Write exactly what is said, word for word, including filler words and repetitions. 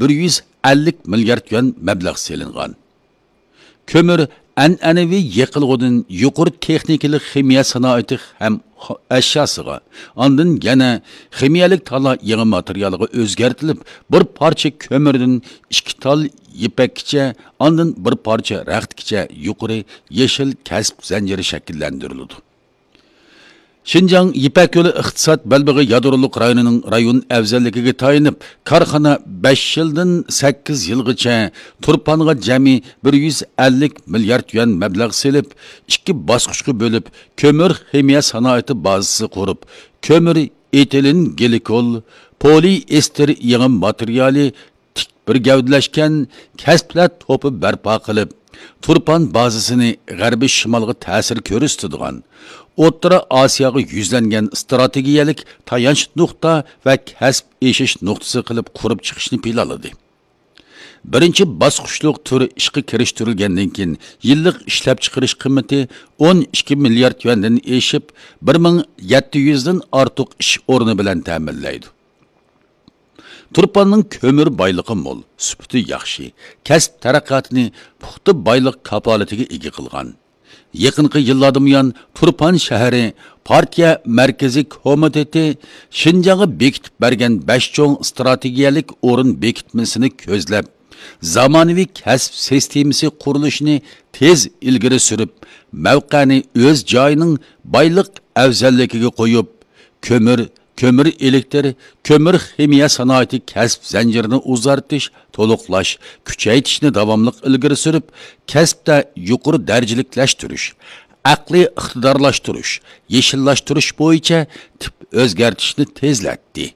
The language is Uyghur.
بىر يۈز ئەللىك مىليارد يۈەن مەبلەغ سېلىنغان. كۆمۈر ئەنئەنىۋى يېقىلغۇدىن يۇقىرى تېخنىكىلىق خىمىيە سانائىتى ھەم ئەشياسىغا، ئاندىن يەنە خىمىيەلىك تالا يېڭى ماتېرىيالىغا ئۆزگەرتىلىپ، بىر پارچە كۆمۈردىن ئىككى تال يىپەككىچە، ئاندىن بىر پارچە رەختكىچە يۇقىرى يېشىل كەسىپ زەنجىرى شەكىللەندۈرۈلىدۇ. شىنجاڭ يىپەك يولى ئىقتىساد بەلبېغى يادرولۇق رايونىنىڭ رايون ئەۋزەللىكىگە تايىنىپ، كارخانا بەش يىلدىن سەككىز يىلغىچە تۇرپانغا جەمئىي بىر يۈز ئەللىك مىليارد يۈەن مەبلەغ سېلىپ، ئىككى باسقۇچقا بۆلۈپ، كۆمۈر خىمىيە سانائىتى بازىسى قۇرۇپ، كۆمۈر ئېتىلېن گلىكول، پولىئېستېر يېڭى ماتېرىيالى، تىك بىر گەۋدىلەشكەن كەسىپلەر توپى بەرپا قىلىپ، تۇرپان بازىسىنى غەربىي شىمالغا تەسىر كۆرسىتىدىغان، ئوتتۇرا ئاسىياغا يۈزلەنگەن ئىستراتېگىيەلىك تايانچ نۇقتا ۋە كەسىپ ئېشىش نۇقتىسى قىلىپ قۇرۇپ چىقىشنى پىلانلىدى. بىرىنچى باسقۇچلۇق تۈر ئىشقا كىرىشتۈرۈلگەندىن كېيىن، يىللىق ئىشلەپچىقىرىش قىممىتى ئون ئىككى مىليارد يۈەندىن ئېشىپ، بىر مىڭ يەتتە يۈزدىن ئارتۇق ئىش ئورنى بىلەن تەمىنلەيدۇ. تۇرپاننىڭ كۆمۈر بايلىقى مول، سۈپىتى ياخشى، كەسىپ تەرەققىياتىنى پۇختا بايلىق كاپالىتىگە ئىگە قىلغان. يېقىنقى يىللاردىن بۇيان، تۇرپان شەھىرى پارتىيە مەركىزىي كومىتېتى شىنجاڭغا بېكىتىپ بەرگەن بەش چوڭ ئىستراتېگىيەلىك ئورۇن بېكىتمىسىنى كۆزلەپ، زامانىۋى كەسىپ سىستېمىسى قۇرۇلۇشىنى تېز ئىلگىرى سۈرۈپ، مەۋقەنى ئۆز جايىنىڭ بايلىق ئەۋزەللىكىگە قويۇپ، كۆمۈر، كۆمۈر ئېلېكتىر، كۆمۈر خىمىيە سانائىتى كەسىپ زەنجىرىنى ئۇزارتىش، تولۇقلاش، كۈچەيتىشنى داۋاملىق ئىلگىرى سۈرۈپ، كەسىپتە يۇقىرى دەرىجىلىكلەشتۈرۈش، ئەقلىي ئىقتىدارلاشتۇرۇش، يېشىللاشتۇرۇش بويىچە تىپ ئۆزگەرتىشنى تېزلەتتى.